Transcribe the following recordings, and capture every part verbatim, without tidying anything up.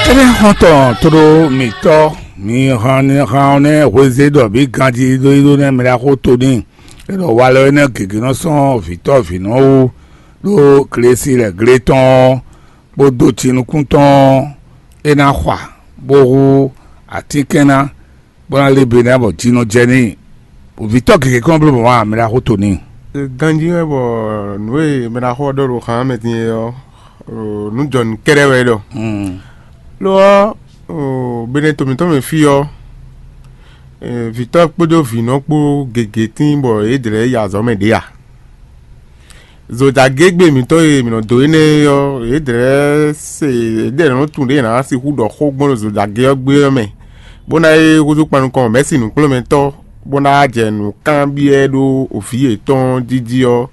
Énɛ́ xɔ́ntɔn tló mǐtɔn, mi han ni han ɔ́ nɛ́ hwezé ɖɔ mǐ ganjí ɖó yi ɖó nɛ́ mɛ ɖaxó to n'i. É ɖɔ walɔ énɛ́ gěgé nɔ sɔ́n vǐtɔ́ vǐnɔ wú ɖó glesi lɛ́ glé tɔn ɔ́, bó dó cinukún tɔn ɔ́, é ná xwa, bó hú atínkɛn ná, bó ná lé be ná bɔ jǐ nɔ jɛ n'i. Vǐtɔ́ gěgé kɔn bló mɔ̌ ǎ, mɛ ɖaxó to n'i. Ganjí wɛ bɔ nǔ e mɛ ɖaxó ɔ́ ɖɔ ɖo xǎn mɛ din é ɔ́, nǔ jɔ nǔ kɛ́ɖɛ́ wɛ é ɖɔ. Lo ɔ́, benɛto mǐtɔn mɛ fí ɔ́, vǐtɔ́ kpódó vǐnɔ kpó gěgé tíin bɔ yě dlɛ̌ yi azɔ̌ mɛ ɖě ǎ. Zodagégbé mǐtɔn e mǐ nɔ dó énɛ́ é ɔ́, yě dlɛ̌ se yě dlɛ̌ nɔ tunwun ɖě yě ná sixú ɖɔ xó gbɔn ɖo zodagé ɔ́ gbé ɔ́ mɛ, bó ná é húzú kpan nukɔn mɛ̌si nǔkplɔ́nmɛtɔ́, bó ná jɛ nǔ kanbyɔ́ ɖó vǐ yětɔn jí jí ɔ́,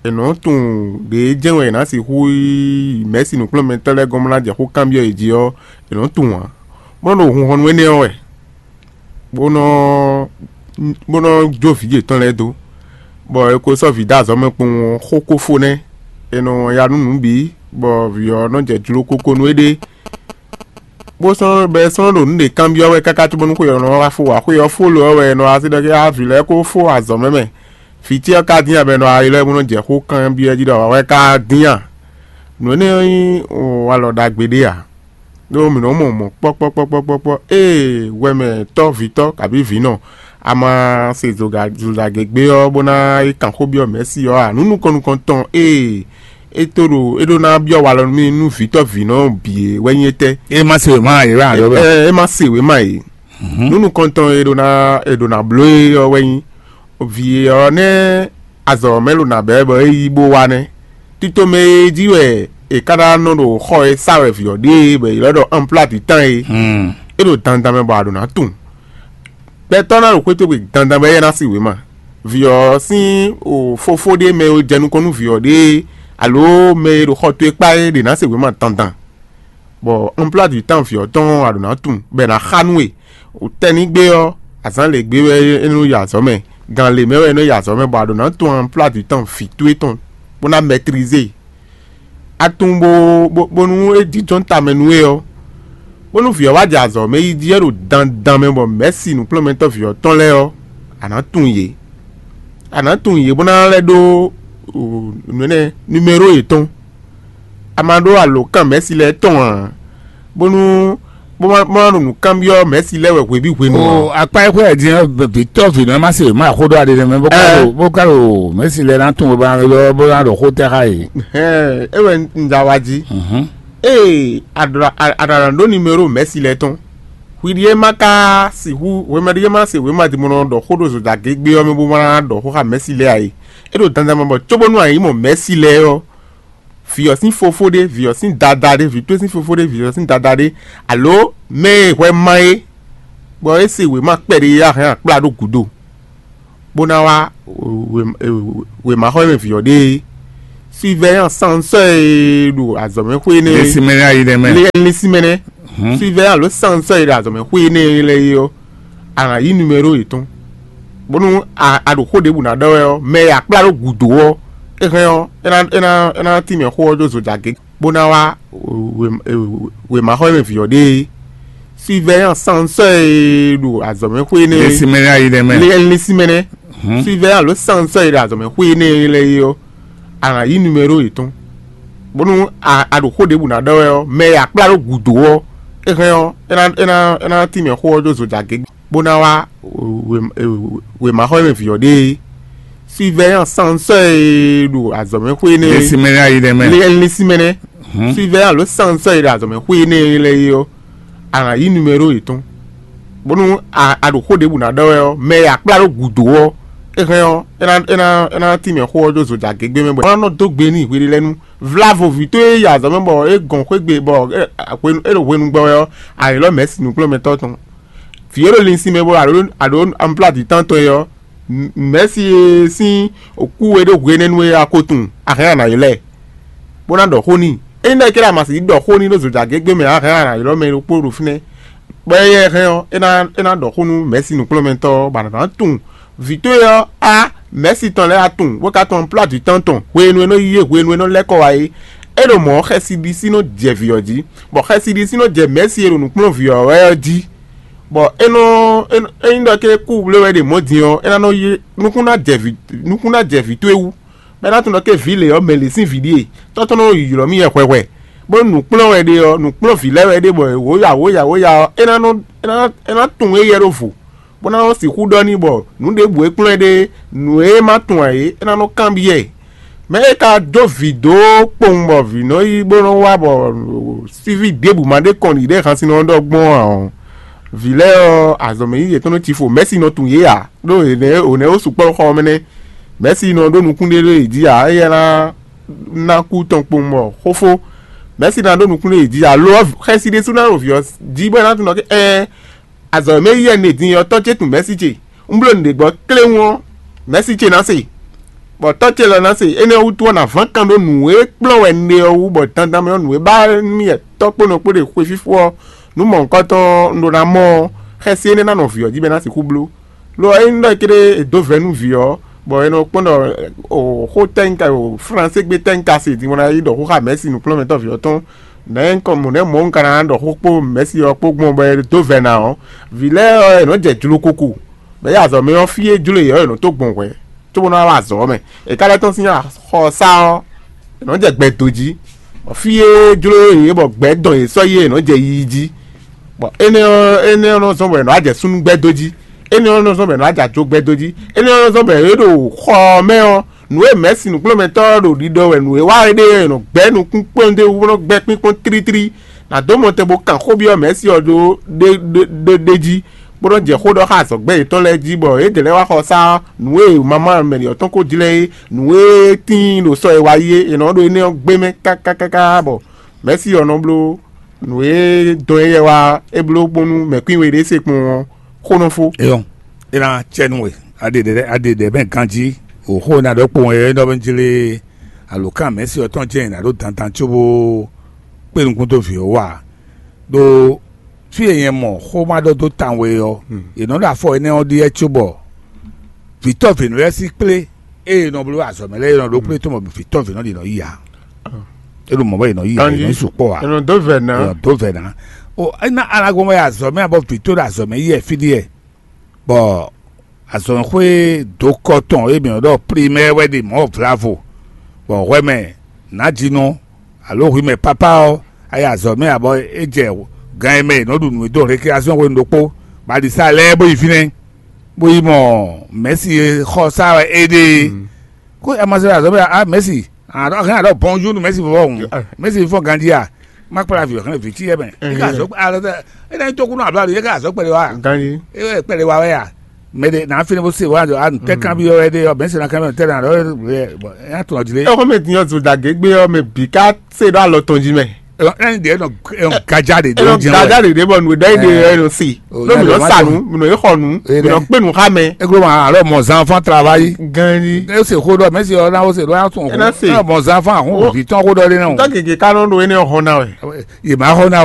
è nɔ́ tunwun ɖě jɛ́n wɛ è nǎ sixú yi mɛ̌si nǔkplɔ́nmɛtɔ́ lɛ́ɛ gɔ́n bó ná jɛ xó kanbyɔ́ yě jí ɔ́, è nɔ́ tunwun ǎ, bó nɔ́ ɖo hunhɔnnu énɛ́ ɔ́ wɛ, bó nɔ́ bó nɔ́ jó vǐ yětɔn lɛ́ɛ dó, bɔ è ko sɔ́ vǐ dó azɔ̌ mɛ kpowun ɔ́, xó ko fó nɛ́; è nɔ ya nú nǔ bǐ, bɔ vǐ ɔ́ nɔ jɛ jló kókó nú éɖée, bó sɔ́ bɔ é sɔ́ nɔ ɖo nǔ ɖě kanbyɔ́ wɛ káká cóbónú xwe ɔ́ nɔ wá fó ǎ. Xwe ɔ́ fó lo ɔ́ wɛ è nɔ wá sí ɖɔ xá vǐ lɛ́ɛ kó fó azɔ̌ mɛ mɛ. Vǐ ce ɔ́ ka dín ǎ bɔ è nɔ wá ylɔ́ ɛ bó nɔ jɛ xó kanbyɔ́ jí ɖɔ awǎ wɛ ka dín a? Nǔ énɛ́ ɔ́ nyí walɔ ɖagbe ɖé ǎ. Ɖó mǐ nɔ́ mɔ mɔ̌ kpɔ́kpɔ́kpɔ́kpɔ́kpɔ́ ée hwɛmɛ tɔ́ vǐtɔ́ kabǐ vǐnɔ a ma se zozagěgbé ɔ́ bó ná yi kan xó byɔ́ mɛ̌si ɔ́ ǎ. Nǔ nukɔn nukɔn tɔn ée é tó ɖo é ɖó ná byɔ́ walɔ nú mì nú vǐtɔ́ vǐnɔ bǐ é wɛ nyí étɛ́? É má se wěma ǎ, é wɛ ǎ ɖɔ bɛ́. Ɛ é má se wěma é. Nǔ nukɔntɔn e ɖo ná e ɖo ná bló é ɔ́ wɛ nyí vǐ e ɔ́ nɛ́ azɔ̌ mɛ ɖo nǎ bɛ́ bɔ é yí bó wá nɛ́. Tito mɛ e jí wɛ è ka ná nɔ ɖo xɔ e sá wɛ vǐ ɔ́ ɖe é bɔ è ylɔ́ ɖɔ anplá dǐtán é. É ɖo dandan mɛ bɔ a ɖǒ ná tunwun. Gbɛtɔ́ ná ɖo xwé towe dandan bɔ éyɛ́ ná sí wěma. Vǐ ɔ́ sín o fofó ɖé mɛ e jɛ nukɔn nú vǐ ɔ́ ɖe é, alo mɛ e ɖo xɔ towe kpá é ɖě ná se wěma dandan. Bɔ anplá dǐtán vǐ ɔ́ tɔn a ɖǒ ná tunwun bɔ è nǎ xa nú we. Tɛ́nnígbé ɔ́, azǎn lěgbé wɛ é nɔ yi azɔ̌ mɛ, gan lě mɛ wɛ é nɔ yi azɔ̌ mɛ, bɔ a ɖǒ ná tunwun anplá dǐtán vǐ towe tɔn bó ná mɛtlize. A tunwun bó bónú é jínjɔ́n tamɛ nú we ɔ́, bónú vǐ ɔ́ wá jɛ azɔ̌ mɛ yi jí wɛ ɖo dandan mɛ bɔ mɛ̌si nǔkplɔ́nmɛtɔ́ vǐ ɔ́ tɔn lɛ́ɛ ɔ́, a nǎ tunwun yě. A nǎ tunwun yě bó ná lɛ́ ɖó nǔ énɛ́ numéro yětɔn. A ma ɖó alǒkan mɛ̌si lɛ́ɛ tɔn ǎ, bónú bó ma bó ma ɖo nǔ kanbyɔ́ mɛ̌si lɛ́ɛ wɛ hweví hwenu ǎ. O akpá e xwé din ɔ́, vǐtɔ́ vǐnɔ ma se ma xó ɖó aɖe mɛ bó ka ɖo bó ka ɖo mɛ̌si lɛ́ɛ ná tunwun bó ná ɖɔ xó tɛ́ xá yě. Hɛn é wɛ un da wa jí. Ee, aɖaɖa ɖó numéro mɛ̌si lɛ́ɛ tɔn. Hwi ɖíe ma ka sixú hwemɛ ɖíe ma se wěma din bó nɔ ɖɔ xó ɖo zodagégbé ɔ́ mɛ bó ma ná ɖɔ xó xá mɛ̌si lɛ́ɛ ǎ é. É ɖo dandan mɛ bɔ cóbónú a yi mɔ mɛ̌si lɛ́ɛ ɔ́, vǐ ɔ́ sín fofó ɖé, vǐ ɔ́ sín dada ɖé, vǐ towe sín fofó ɖé, vǐ ɔ́ sín dada ɖé, alo mɛ e hwɛ ma é, bɔ é se wěma kpɛɖé e a hɛn akplá ɖó gǔdo, bó ná wá wěmaxɔ e mɛ vǐ ɔ́ ɖe é. Surveillant sansɔ́ e ɖo azɔ̌mɛxwé énɛ́ é. Lé sín mɛ nɛ́ ayi nɛ́ mɛ. Lé sín mɛ nɛ́. Surveillant alo sansɔ́ e ɖo azɔ̌mɛxwé énɛ́ lɛ́ɛ é ɔ́, a nǎ yí numéro yětɔn, bónú a a ɖo xó ɖěbǔ ná ɖɔ wɛ ɔ́, mɛ e a kplá ɖó gǔdo ɔ́, é hɛn ɔ́, é ná é ná é ná tínmɛ xó ɔ́ dó zojagě, bó ná wá wěmaxɔ e mɛ vǐ ɔ́ ɖe é. Surveillant sansɔ́ e ɖo azɔ̌mɛxwé énɛ́. Lé sín mɛ nɛ́ ayi nɛ́ mɛ. Lé sín mɛ nɛ́. Surveillant alo sansɔ́ e ɖo azɔ̌mɛxwé énɛ́ lɛ́ɛ é ɔ́, a nǎ yí numéro yětɔn, bónú a a ɖo xó ɖěbǔ ná ɖɔ wɛ ɔ́, mɛ e a kplá ɖó gǔdo ɔ́, é hɛn ɔ́, é ná é ná é ná tínmɛ xó ɔ́ dó zojagě, bó ná wá wěmaxɔ e mɛ vǐ ɔ́ ɖe é. Surveillant sansɔ́ e ɖo azɔ̌mɛxwé énɛ́. Lé sín mɛ nɛ́ ayi nɛ́ mɛ. Lé sín mɛ nɛ́. Surveillant alo sansɔ́ e ɖo azɔ̌mɛxwé énɛ́ lɛ́ɛ é ɔ́, a nǎ yí numéro yětɔn, bónú a a ɖo xó ɖěbǔ ná ɖɔ wɛ ɔ́, mɛ e a kplá ɖó gǔdo ɔ́, é hɛn ɔ́, é ná é ná é ná tínmɛ xó ɔ́ dó zojagě gbé mɛ bɔ é ná nɔ dó gbe n'i hweɖélɛ́nu. Vlávo vǐ towe e yi azɔ̌ mɛ bɔ é gɔn xwé gbe bɔ é hwenu é ɖo hwenu gbɔ wɛ ɔ́, a ylɔ́ mɛ̌si nǔkplɔ́nmɛtɔ́ tɔn. Vǐ e ɖo linsin mɛ bɔ a ɖǒ a ɖǒ anplá dǐtán tɔn é ɔ́, mɛ̌si e sín kú e ɖo hwenɛ́nu é a ko tunwun, a hɛn a nǎ ylɔ́ ɛ, bó ná ɖɔ xó n'i. Ényí ɖɔ é ké ɖo ama sixú ɖɔ xó n'i ɖó zojagě gbé mɛ ǎ, a hɛn a nǎ ylɔ́ mɛ ɖokpó ɖo fínɛ́, bɔ éyɛ́ hɛn ɔ́, é ná é ná ɖɔ xó nú mɛ̌si nǔkplɔ́nmɛtɔ́ ɔ́, bɔ a nǎ ná tunwun vǐ towe ɔ́ á mɛ̌si tɔn lɛ́ɛ wá tunwun, bó ka tunwun anplá dǐtán tɔn hwenu e nɔ yí yé hwenu e nɔ lɛ́ kɔ wá é. É ɖo mɔ̌ xɛsi ɖisí nɔ jɛ vǐ ɔ́ jí, bɔ xɛsi ɖisí nɔ jɛ mɛ̌si e ɖo nǔkplɔ́nvǐ ɔ́ wɛ ɔ́ jí, bɔ é nɔ é nɔ- ényí ɖɔ ké kú blé wɛ ɖe mɔ̌ din ɔ́, é ná nɔ yí nukún ná jɛ vǐ nukún ná jɛ vǐ towe wú, bɔ é ná tunwun ɖɔ ké vǐ lě ɔ́, mɛ lě sín vǐ ɖíe, tɔ́ tɔn nɔ ylɔ́ mì wɛ hwɛhwɛ, bó nǔkplɔ́n wɛ ɖe ɔ́, nǔkplɔ́n vǐ lɛ́ɛ wɛ ɖe, bɔ wǒ ya wǒ ya wǒ ya ɔ́, é ná nɔ é ná é ná tunwun éyɛ́ ɖó vo, bó ná nɔ sixú ɖɔ n'i bɔ nǔ ɖěbǔ e kplɔ́n ɛ ɖe, nǔ e ma tunwun ǎ é, é ná nɔ kanbyɔ́ ɛ. Mɛ̌ e ka dó vǐ dó kpowun bɔ vǐ nɔ yi bó nɔ wá bɔ síví ɖěbǔ ma ɖé kɔn nǔɖé hansin nɔ ɖɔ gbɔn ǎ ɔ́, vǐ lɛ́ɛ ɔ́, azɔ̌mɛ yíyí yětɔn nɔ cí fo, mɛ̌si nɔ tunwun yě ǎ, ɖó è nɛ̌ è nɛ̌ ó sukpɔ́ xɔ ɔ́ mɛ nɛ́. Mɛ̌si nɔ ɖó nukún ɖé ɖó yě jí ǎ, éyɛ́ ná ná kú tɔn kpowun bɔ xófó. Mɛ̌si ná ɖó nukún ɖé yě jí ǎ, lo ɔ́, xɛsi ɖésú ná ɖo vǐ ɔ́ jí bɔ é ná tunwun ɖɔ ké ɛɛ azɔ̌ e mɛ yí wɛ un ɖe din ɔ́, tɔ́ ce tunwun mɛ̌si ce. Un bló nǔɖé gbɔ kléwún ɔ́, mɛ̌si ce ná se, bɔ tɔ́ ce lɔ ná se. Énɛ́ ɔ́ wútu ɔ́, nǎ ván kan ɖó nǔ e kplɔ́n wɛ un ɖe ɔ́ wú, bɔ dandan mɛ ɔ́, nǔ e ba nú mì wɛ tɔ́ kpó nɔ kpó ɖe xwe fífó ɔ́, nǔ mɔ̌hunkɔtɔn un ɖó ná mɔ ɔ́, xɛsi énɛ́ ná nɔ vǐ ɔ́ jí bɔ é ná sixú bló. Lo ɔ́, ényí ɖɔ é ké ɖé è dǒ vɛ̌ nú vǐ ɔ́, bɔ è nɔ kpɔ́n ɖɔ o xó tɛ́ nyí ka o flansé gbé tɛ́ nyí ka se din bɔ ná yi ɖɔ xó xá mɛ̌si nǔkplɔ́nmɛtɔ́ vǐ ɔ́ tɔn, nɛ̌ un kɔ mɔ̌ nɛ̌ mɔ̌ un ka ná ɖɔ xó kpó mɛ̌si ɔ́ kpó gbɔn bɔ è dǒ vɛ̌ ná ɔ́, vǐ lɛ́ɛ ɔ́, è nɔ̌ jɛ jlokoko, bɔ é azɔ̌ mɛ ɔ́, fí e jló yě ɔ́, è nɔ tó gbɔn hwɛ̌ cóbó ná wá azɔ̌ ɔ́ mɛ. È ka lɛ́ tɔ́n sín axɔsá ɔ́, è nɔ̌ jɛ gbɛ do jí, bɔ fí e jló yě bɔ gbɛ dɔn yě sɔ́ yi é, è nɔ̌ jɛ yiyi jí. Bɔ énɛ́ ɔ́, énɛ́ ɔ́ nɔ zɔ́n bɔ è nɔ wá jɛ súnnu gbɛ́ dó jí, énɛ́ ɔ́ nɔ zɔ́n bɔ è nɔ wá jɛ ajo gbɛ́ dó jí, énɛ́ ɔ́ nɔ zɔ́n bɔ è ɖo xɔ ɔ́ mɛ ɔ́, nǔ e mɛ̌si nǔkplɔ́nmɛtɔ́ ɔ́ ɖo ɖiɖɔ wɛ nǔ e wa é ɖe ɔ́, è nɔ gbɛ́ nukún kpɔ́n ɖé wú bó nɔ gbɛ́ kpínkpɔ́n tlítlí. Nǎ dó mɔ tɛn bó kan xó byɔ́ mɛ̌si ɔ́ ɖó ɖé ɖé ɖé jí, bó nɔ́ jɛ xó ɖɔ xá azɔ̌gbɛ́ yětɔn lɛ́ɛ jí, bɔ yědɛɛ lɛ́ɛ wá xɔ sá nǔ e mamá mɛɖě ɔ́ tɔn ko jlɛ́ é, nǔ e tíin ɖo sɔ e wa yi é, è nɔ ɖo énɛ́ ɔ́ gbé mɛ káká káká bɔ mɛ̌si ɔ́ nɔ bló nǔ e dɔn éyɛ́ wá é bló bónú mɛ̌kwín we ɖé se kpɔ́n ɔ́, xó nɔ fó. Eyɔn, é ná cɛ nú we. Aɖe ɖe aɖe ɖe mɛ ganjí, wǒ xó ná ɖɔ kpowun é nɔ jlé alǒkan mɛ̌si ɔ́ tɔn jɛ́n ná ɖó dandan cóbó kpé nukún dó vǐ ɔ́ wá. Ɖó fí e nyɛ mɔ xó ma ɖɔ dó tawun é ɔ́, è nɔ ɖo afɔ énɛ́ ɔ́ ɖíe cóbɔ vǐtɔ́ vǐnú lɛ́ɛ sín kplé ée è nɔ bló azɔ̌ mɛ lɛ́ɛ é nɔ ɖó kplé tɔn bɔ vǐtɔ́ vǐnɔ ɖě nɔ yí ǎ. É ɖo mɔ̌ bɔ è nɔ yí ǎ, è nɔ yi sukpɔ́ ǎ. È nɔ dó vɛ̌ ná. È nɔ dó vɛ̌ ná. O é ná alago wɛ azɔ̌ mɛ abɔ vǐtó ɖo azɔ̌ mɛ yí wɛ fí ɖíe, bɔ azɔ̌xwé dǒkɔ tɔn e mǐ nɔ ɖɔ primɛ́ɛ wɛ ɖe mɔ̌ vlavo, bɔ hwɛ mɛ nǎjínɔ alo hwi mɛ pápá ɔ́, a yi azɔ̌ mɛ abɔ é jɛ gan e mɛ è nɔ ɖu nǔ e dó rékréasyɔn hwenu ɖokpó, bɔ a ɖi sá lɛ́ɛ bó yi fínɛ́, bó yi mɔ mɛ̌si e xɔ sá wɛ é ɖe é. Ko a ma se azɔ̌ mɛ a mɛ̌si a ɖɔ hɛn a ɖɔ bɔnjú nú mɛ̌si fɔfɔ hǔn, mɛ̌si fɔ ganjí a má kplá vǐ hɛn vǐ cí yɛ mɛ é ká azɔ̌ alɔ tɛ é ná nyí tókúnú abla ɖo é ká azɔ̌ kpɛɖé wa Ganji. É wɛ kpɛɖé wa wɛ a mɛ ɖe nǎ fínɛ́ bó se wa a nǔ tɛ kanbyɔ́ wɛ ɖe ɔ mɛ̌si ná kanbyɔ́ tɛ ná ɖɔ é ná tɔn jí lé. Ɛ xɔmɛ tiɲɔ zo dagbe gbé ɔ mɛ bǐ ká se ɖo alɔ tɔn jí mɛ. Ɛn ɖe nɔ ɛn gaja ɖe Ɛ ɖe nɔ jɛn gaja wɛ. Ɖe ɖe bɔ nǔ ɖɔ yi ɖe ɛ nɔ se. Ɖo mi nɔ sa nu, mi nɔ yi xɔ nu, mi nɔ kpe nu xa mɛ. Eglo ma alɔ mɔ zan fan travayi. Ganji. E se xo ɖɔ mɛsi ɔ na o se ɖo ya tún Ɛ na se. Xo mɔ zan fan ahun vi tɔn xo ɖɔ ɖe na o. Ntɔ keke ka nɔ ɖo ene xɔ na wɛ. Yema xɔ na